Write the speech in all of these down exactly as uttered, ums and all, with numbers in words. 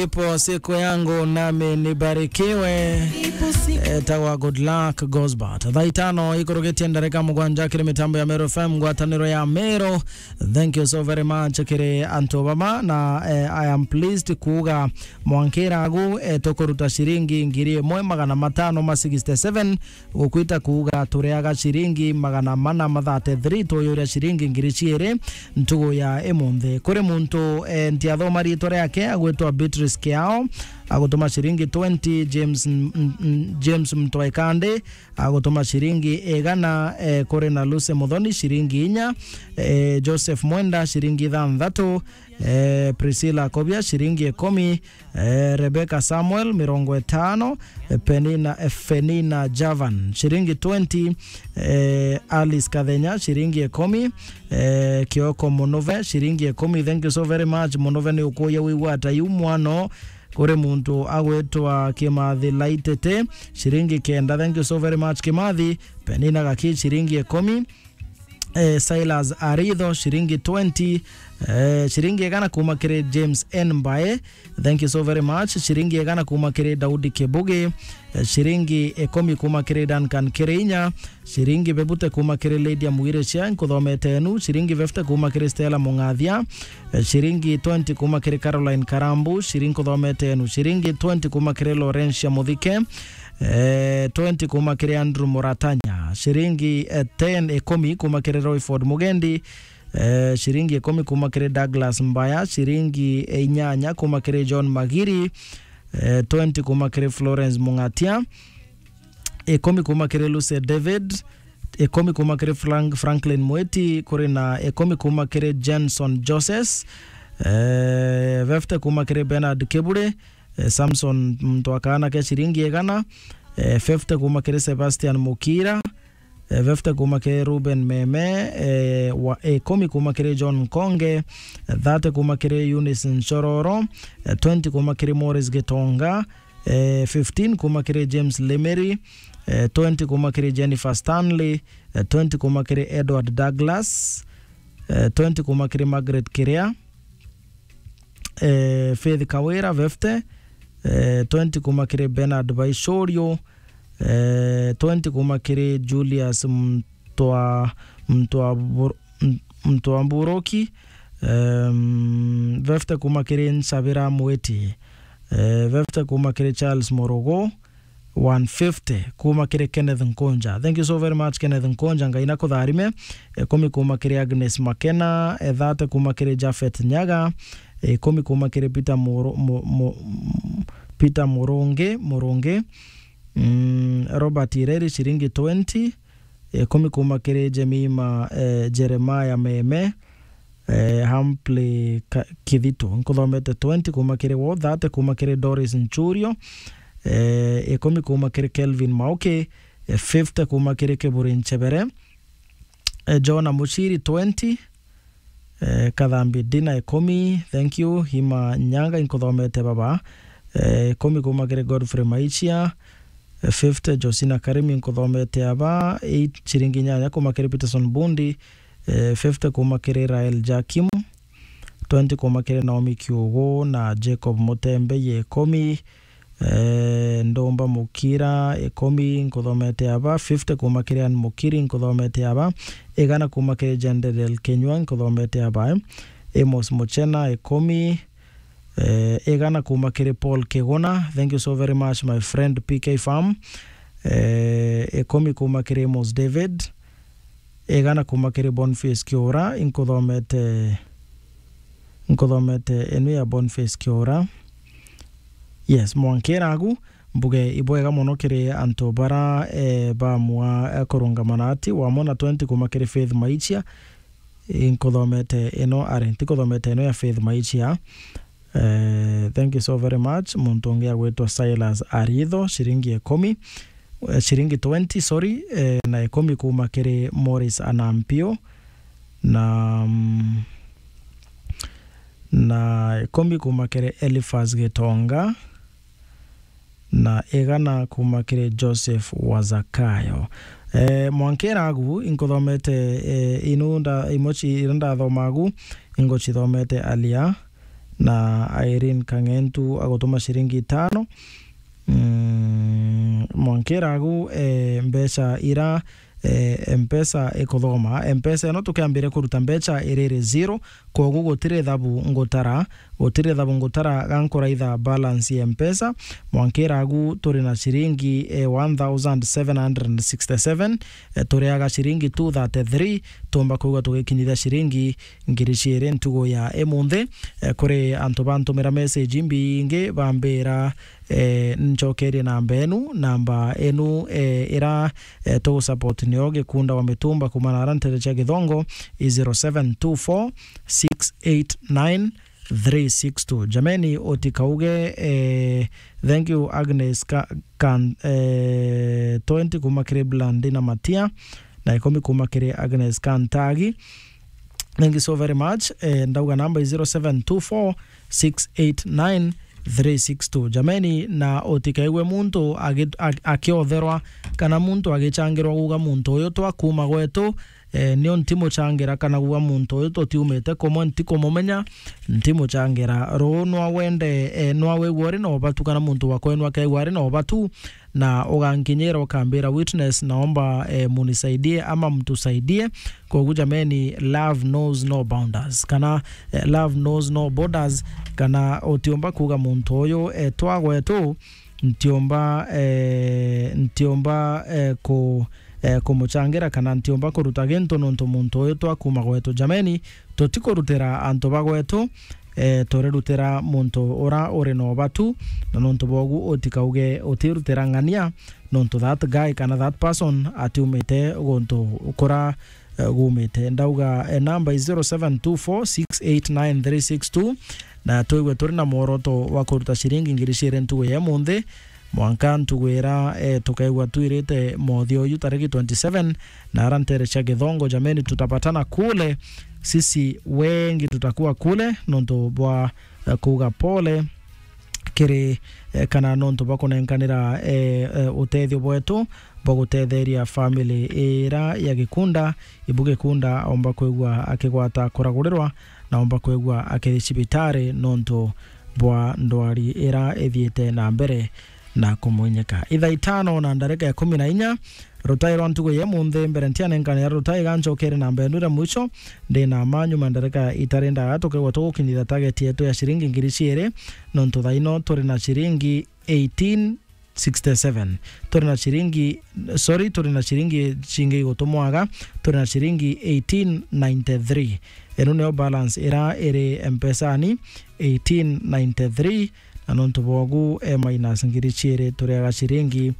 Ipo siku yangu nami nibarikiwe. Etagwa Good Luck Gosbert. Thaa itano ikurugitie ndarika mugwanja kiri mitambo ya Meru F M, ngwataniro ya Meru. Thank you so very much kiri antu baba, na, eh, I am pleased kuuga mwankira agu, eh, tukuruta ciringi ngiri imwe magana matano ma sixty-seven, gukwita kuuga turiaga ciringi magana mana ma thirty-three, tuyuria ciringi ngiri ciiri ntugu ya imunthi. Kuri muntu, eh, ntiathoma riitwa riake, agwitwa Beatrice Kiao, agutuma ciringi twenty, James M-, M-, M-, James Mtwaikande, agutuma ciringi igana, eh, kuri na Lucy Muthoni, ciringi inya, eh, Joseph Mwenda, ciringi ithanthatu, eh, Priscilla Kobia, ciringi ikumi, eh, Rebecca Samuel, mirongo itano, eh, Penina, eh, Penina Javan, ciringi twenty, eh, Alice Kathenya, ciringi ikumi, eh, Kioko Munove, ciringi ikumi. Thank you so very much. Munove ni ukuya wigwata yu mwano kuri muntu agwitwa Kimathi Laitete, ciringi kenda. Thank you so very much, Kimathi. Penina Gaki, ciringi ikumi. Eh, Silas Aritho, ciringi twenty. Eh, ciringi igana kuma kiri James N Mbae. Thank you so very much. Ciringi igana kuma kiri Daudi Kibugi. Eh, ciringi ikumi kuma kiri Duncan Kirinya. Ciringi bebute kuma kiri Lydia Mwiricia, nkuthomete nu. Ciringi fifty kuma kiri Stella Mungathia. Eh, ciringi twenty kuma kiri Caroline Karambu. Ciringi nkuthomete nu. Ciringi twenty kuma kiri Laurentia Muthike. Eh, twenty kuma kiri Andrew Muratanya. Ciringi, eh, ten, ikumi kuma kiri Royford Mugendi. Eh, ciringi ikumi kuma kiri Douglas Mbaya. Ciringi, eh, inyanya kuma kiri John Magiri. Eh, twenty kuma kiri Florence Mungatia. Ikumi kuma kiri Lucy David. Ikumi kuma kiri Frank-, Franklin Mweti. Kuri na ikumi kuma kiri Jenson Joses. Eh, fifty kuma kiri Bernard Kibure. Eh, Samson muntu akaana ke ciringi igana, eh, fifty kuma kiri Sebastian Mukira, eh, fifty kuma kiri Ruben Meme, eh, wa, eh, ikumi kuma kiri John Nkonge, eh, thirty kuma kiri Eunice Nchororo, eh, twenty kuma kiri Morris Gitonga, eh, fifteen kuma kiri James Lemery, eh, twenty kuma kiri Jennifer Stanley, eh, twenty kuma kiri Edward Douglas, eh, twenty kuma kiri Margaret Kiria, eh, Faith Kawira, fifty, eh, twenty kuma kiri Bernard Baishorio, eh, twenty kuma kiri Julius Mtwa-, Mtwabur-, M-, Mtwamburoki, em, fifty kuma kiri Nsabira Mwiti, eh, fifty kuma kiri Charles Morogo, one fifty kuma kiri Kenneth Nkunja. Thank you so very much, Kenneth Nkunja. Ngai nakutharime. Ikumi kuma kiri Agnes Makena, eh, thirty kuma kiri Japhet Nyaga, eh, ikumi kuma kiri Peter Muru-, Mu-, Mu-, Peter Murungi, Murungi. Mm, Robert Ireri, ciringi twenty, eh, ikumi kuma kiri Jemima, eh, Jeremiah Meme, eh, Humphrey Ka-, Kithito. Nkuthomete twenty kuma kiri wo, thirty kuma kiri Doris Nchurio, eh, ikumi kuma kiri Kelvin Mauki, eh, fifty kuma kiri Kiburi Nchebere, eh, Jona Muchiri, twenty, eh, Kathambi Dina, ikumi, thank you, Hima Nyanga, inkuthomete baba, eh, ikumi kuma kiri Godfrey Maichia, eh, fifty, Josina Karimi, inkuthomete aba, eight, ciringi inyanya kuma kiri Peterson Bundi, eh, fifty kuma kiri Rael Jakim, twenty kuma kiri Naomi Kiugu na Jacob Mutembe, ye ikumi, eh, Ndumba Mukira, ikumi, nkuthomete aba, fifty kuma kiri Ann Mukiri, nkuthomete aba, igana kuma kiri Jendedel Kinyua, nkuthomete aba, eh, Amos Muchena, ikumi, eh, igana kuma kiri Paul Kiguna, thank you so very much my friend P K Farm, eh, ikumi kuma kiri Amos David, igana kuma kiri Boniface Kiura, inkuthomete, inkuthomete inu ya Boniface Kiura. Yes, mwankira agu, mbuge ibwega mono kiri antu bara, eh, bamua, eh, kurungama na ati, wamona twenty kuma kiri Faith Maichia, inkuthomete ino, ari, ntikuthomete ino ya Faith Maichia. Eh, thank you so very much. Muntu ungi agwitwa Silas Aritho, ciringi ikumi, eh, ciringi twenty, sorry, eh, na ikumi kuma kiri Morris Anampio, na, mm, na ikumi kuma kiri Eliphas Gitonga, na igana kuma kiri Joseph wa Zakayo. Eh, mwankira agu, inkuthomete, eh, inu nda-, imwe ci-, iria ndathoma agu, ingucithomete alia, Na Irene Kang'entu agutuma ciringi itano. Mm, mwankira agu, eh, mbeca ira, eh, Mpesa ikuthoma. Mpesa ino tukiambire kuruta mbeca iriri zero, kogu gutiri thabu ngutara, gutiri thabu ngutara ga nkuraitha balance ya Mpesa. Mwankira agu turi na ciringi, eh, one thousand seven hundred sixty-seven, eh, turiaga ciringi two thirty-three, tumba kwigua tugikinyithia ciringi ngiri ciiri ntugu ya imunthi. Eh, kuri antu bantumira message imbingi bambira, eh, ncokerie namba enu, namba enu, eh, ira, eh, tugusupport nio Gikunda wa Mitumba kuuma na ara ntere cia Githongo, i zero seven two four six eight nine three six two. Jameni, utikauge, eh, thank you Agnes Ka-, Kan-, eh, twenty kuuma kiri Blandi na Matia, na ikumi kuuma kiri Agnes Kantagi. Thank you so very much. Eh, ndauga namba i zero seven two four six eight nine three six two. Jameni, na utikaigue muntu agi-, a-, akiotherwa kana muntu agichangirwa kuuga muntu uyu twa kuuma gwetu, eh, nio ntimuchangira kana kuuga muntu uyu tutiumite kumwe, ntikumumenya, ntimuchangira. Ruu nwa wende, eh, nwa wigua uri na ubatu kana muntu wa kwenu akaigua ari na ubatu, na ugankinyira ukambira, "Witness, naomba, eh, munisaidie ama mtusaidie." Kogu jameni, love knows no bounders, kana, eh, love knows no borders, kana utiumba kuuga muntu uyu, eh, twa gwetu, ntiumba, eh, ntiumba, eh, ku, eh, kumuchangira, kana ntiumba kuruta gintu nontu muntu uyu twa kuuma gwetu. Jameni, tutikurutira antu ba gwetu, eh, turirutira muntu ura uri na ubatu, na nontu bwogu utikauge utirutira ng'ania, nontu that guy kana that person atiumite guntu kura, eh, gumite. Ndauga, eh, namba i zero seven two four six eight nine three six two, na twigue turi na mworoto wa kuruta ciringi ngiri ciiri ntugu ya imunthi, mwanka ntugu ira, eh, tukaigua twirite mothio uyu tariki twenty-seven, na ara ntere cia Githongo. Jameni, tutapatana kule, sisi wengi tutakuwa kule, nontu bwa, eh, kuuga pole kiri, eh, kana nontu bwa kunenkanira, eh, eh, utethio bwetu bwa gutetheria family ira ya Gikunda. Ibu Gikunda aumba kwigua akigwata kuragurirwa, na aumba kwigua akiri cibitari nontu bwa ndwari ira ithiite na mbere na kumuinyika. Ithaa itano na ndarika ya kumi na inya, rutai rwa ntugu ya imunthi, mbere ntianenkanira rutai ga ncokere namba yenu iria mwicho, ndi na ma nyuma ndarika itari ndaga tukaigua tugukinyithia target yetu ya ciringi ngiri ciiri, nontu thaa ino turi na ciringi eighteen sixty-seven. Turi na ciringi, sorry, turi na ciringi cingi igutumwaga, turi na ciringi eighteen ninety-three. Ino niyo balance ira iri Mpesani, eighteen ninety-three, na nontu bwogu, eh, minus ngiri ciiri turiaga ciringi,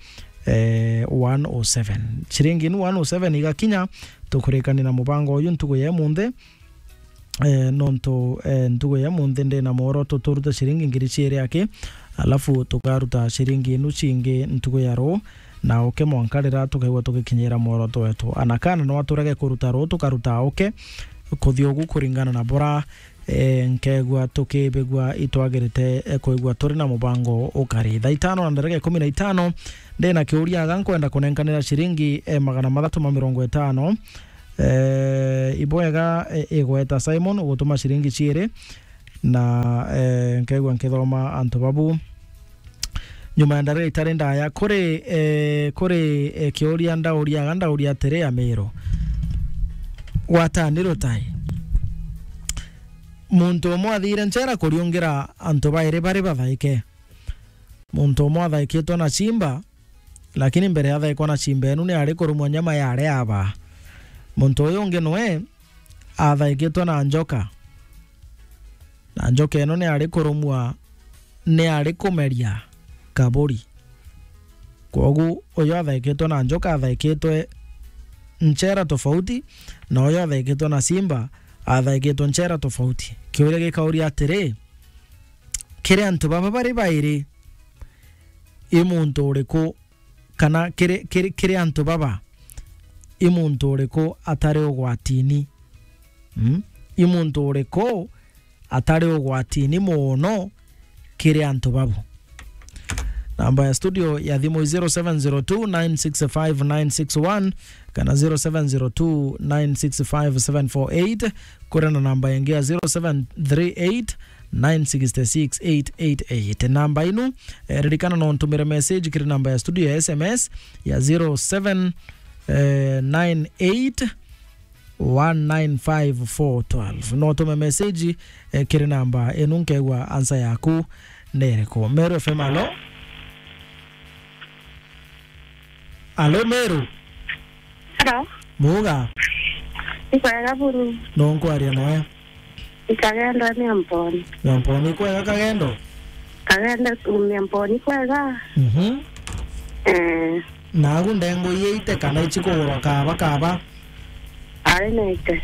eh, one oh seven. Ciringi inu one oh seven igakinya, tukurikania na mubango uyu ntugu ya imunthi, eh, nontu, eh, ntugu ya imunthi ndi na mworoto turute ciringi ngiri ciiri aki, alafu tukaruta ciringi inu cingi ntugu ya ruu, na uke mwanka riria tukaigua tugikinyira mworoto wetu. Ana kana no aturege kuruta ruu, tukaruta uke, kuthi ugu kuringana na bura, eh, nkegua tukibigua itwagirite, eh, kuigua turi na mubango ukari. Thaa itano na ndarika ikumi na itano, ndi na kiuria aga nkwenda kunenkanira ciringi, eh, magana mathatu ma mirongo itano. Eh, ibwega, eh, igweta Simon, ugutuma ciringi ciiri, na, eh, nkaigua nkithoma antu babu. Nyuma ya ndarika itari ndaya, kuri, eh, kuri, eh, kiuria ndauria, aga ndauria atiri, Amiru, gwatani rutai. Muntu umwe athiire nchera kuriungira antu bairi bari bathaike. Muntu umwe athaikitwe na simba, lakini mbere athaikwa na simba enu ni ari kurumwa nyama yari aba. Muntu uyu ungi nwe athaikitwe na njoka. Na njoka eno ni ari kurumwa, ni ari kumeria kaburi. Kwogu uyu athaikitwe na njoka athaikitwe nchera tofauti, na uyu athaikitwe na simba athaikitwe nchera tofauti. Kiuria gikauria atiri, kiri antu baba bari bairi, i muntu uriku, kana kiri, kiri, kiri antu baba, i muntu uriku atari ugwatini? Mm? I muntu uriku atari ugwatini mono kiri antu babu? Namba ya studio ya thimu i zero seven zero two nine six five nine six one kana zero seven zero two nine six five seven four eight, kuri na namba ingi ya zero seven three eight nine six six eight eight eight. Namba inu, eh, ririkana no ntumire message kiri namba ya studio ya S M S ya zero seven nine eight one nine five four twelve. No tume message, eh, kiri namba inu, nkegua answer yaku ni iriku. Meru F M, alo? Alo, Meru? Hello. Muga? Ikwega buru. No nkwaria noe? Ikagendo ni Mponi. Ya Mponi kwega Kagendo? Kagendo ni Mponi kwega. Mhm. Eh. Nagu ndengo iite kana ichikugurwa kaba kaba? Ari naite.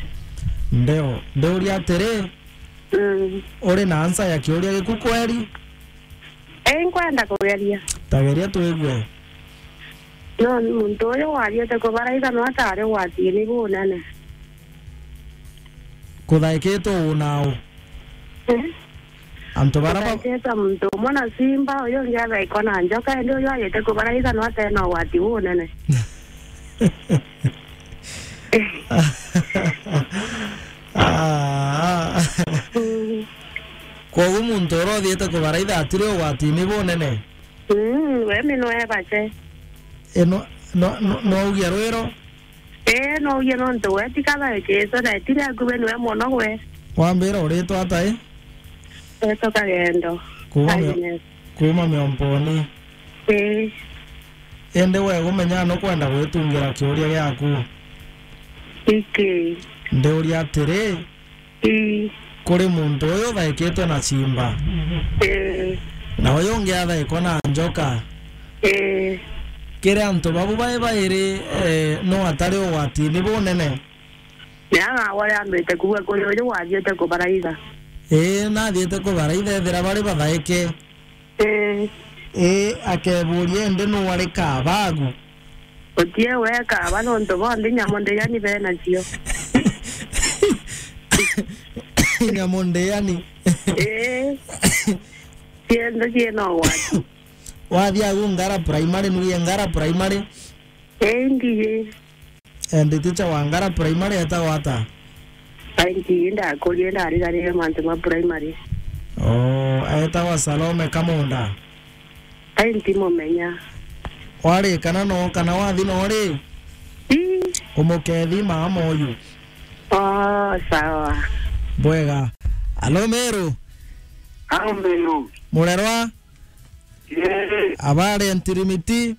Ndeo, ndeuria atiri, mm, uri na answer ya kiuria giku kweri? Ii, nkwenda kugeria. Tageria twigue. No, muntu uyu wathiite kubaraitha no atari ugwatini bunene. Kuthaikitwe uu na uu? Eh? Antu bara ba- Kuthaikitwe muntu umwe na simba, uyu ungi athaikwa na njoka, indi uyu athiite kubaraitha no atena ugwati bunene. Ah. Mm. Kwogu muntu uria uthiite kubaraitha atiri ugwatini bunene? Mm, we mi no ebache. E, no, no, no, no ugia rwiro? Ee, no ugia nontu we ti kathaikitwe na etire akubi niwe mono gwe. Wambira uritwa ata i? Etwa Kagendo. Kuma mi-, Agnes. Kuma Miomponi. Ii. Indi we gumenya nukwenda gwitungira kiuria giaku? Iki. Ndiuria atiri, ii, kuri muntu uyu uthaikitwe na simba, ii, na uyu ungi athaikwa na njoka, ii, kiri antu babu bai bairi, eh, nu atari ugwatini bunene? Ni anga uria ambite kuuga kuri uyu wathiite kubaraitha? Ii, nathiite kubaraitha, ethira bari bathaike. Ii. Ii, akeburia, indi nu ari kabagu? Utie weka, aba nontu bonthe nyamu ndiyani benacio. Nyamu ndiyani? Ii. Cienthe ciena ugwati. Wathia agu Ngara Primary, nuye Ngara Primary? Ii, ndiye. And teacher wa Ngara Primary etagwa ata? Ai, nti ndakurie, ndarigarire mantu ma primary. Oh, etagwa Salome Kamunda? Ai, ntimumenya. Wari kana no, kana wathi no ri? Ii. Umukethi mama uyu. Oh, sawa. Bwega. Alo, Meru? Alo, Meru. Murerwa? Ii. Abari Ntirimiti?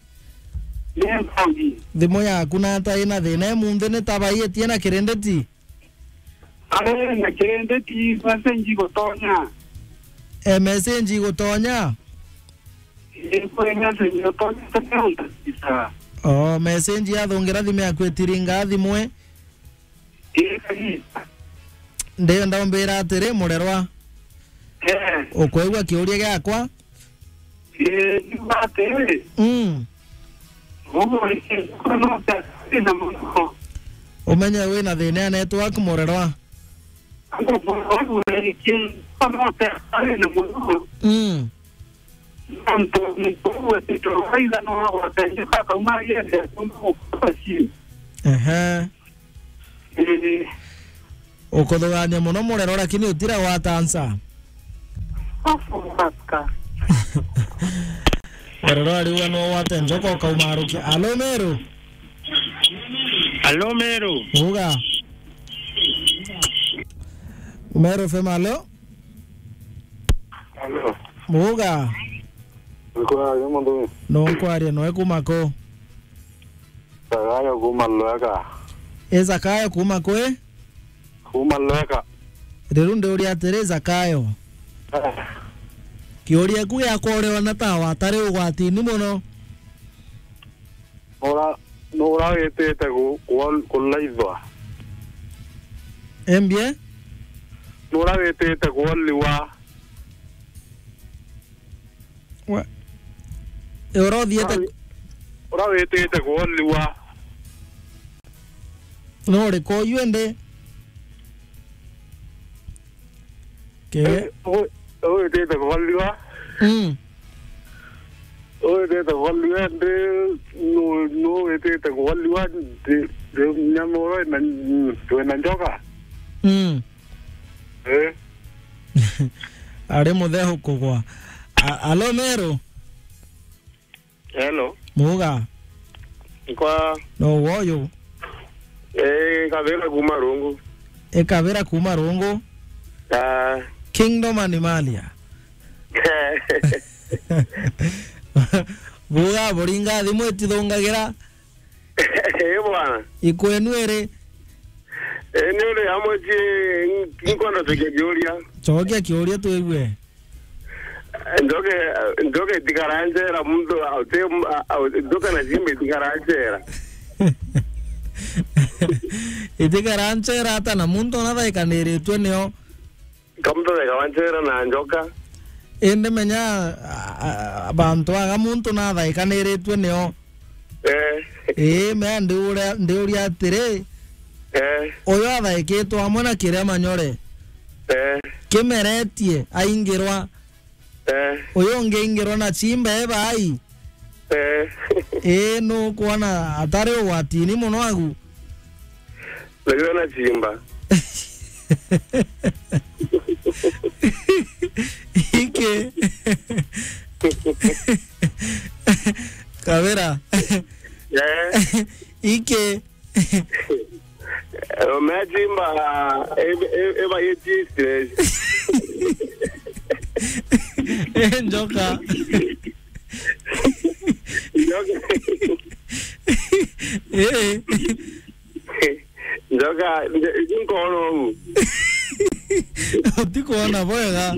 Ni mbogi. Thimu yaku nata ina thina imunthi ni ta baiitie na kirinditi? Ari na kirinditi, message igutonya. E, message igutonya? Ii, kuri message igutonya, tene utakisa. O, message yathungira thimu yaku itiringa thimu i? Ii, kabisa. Ndienda umbira atiri, murerwa. Eh. Ukwigua kiuria giakwa? Ii, ndiuga atiri. Mm. Uguo ri, no ta thina muno. Umenye wina thina ya network, murerwa. Uguo ri, no ta thina muno. Mm. Nontu muntu uu etitwe waitha no agwate njoka akauma agende kumba gukua ciu. Ehe. Ii. Ukuthugania muno murero, lakini utira gwata answer. Afu maka. Murero ariuga no wate njoka ukaumarukia. Alo, Meru? Alo, Meru? Uga. Meru F M, alo? Alo. Uga. Nkwari mundu. No nkwaria noe kuma ku? Zakayo kuma Lweka. E Zakayo kuma kwi? Kuma Lweka. Riu ndiuria atiri, Zakayo. Eh. Kiuria ku giakwa uriona ta watari ugwatini muno? Nura, nura witite ku-, ku-, kulaithwa? Embie? Nura witite kuoliwa? Wa-, e, ura uthiite? Ura wi-, ura witite kuoliwa? No uriku uyu indi? Ke- Eh, u-, u witite kuoliwa? Mm. U witite kuoliwa ndi, nu, nu witite kuoliwa ndi, ndi nyamuro ina, twina njoka? Mm. Eh. Ari muthehu kugwa. A-, alo Meru? Hello. Muga? Nkwa. No woyo? Eh, Kabira kuma Rungu. E Kabira kuma Rungu? Ah. Kingdom Animalia. Buga buringa thimu itithungagira. Eh, bwana. Ikwenu iri? Eh, ni uri amwe ci, nkwenda tukia kiuria. Cokia kiuria twigue. Njoke, njoke itikara njera muntu, a-, uti-, a-, a-, njoke na simba itikara njera. Itikara njera ata na muntu ona thaikaniritwe nio? Kamutotheka wa nchera na njoka. Indi menya, a, a, bantu aga muntu nathaikaniritwe nio. Eh. Ii, mea ndiuria, ndiuria atiri, eh, uyu athaikitwe amwe na kiria manyore, eh, kimeretie aingirwa, eh, uyu ungi aingirwa na chimba e bai. Eh. Ii, nukwona atari ugwatini muno agu? Najua na chimba. Iki. Kabira. Eh. Iki. Umechimba, eh, eh, eh, ba yeti stress. Eh, njoka. Njoka. Eh. Njoka, nje-, nkono huu. Utikuona bwega.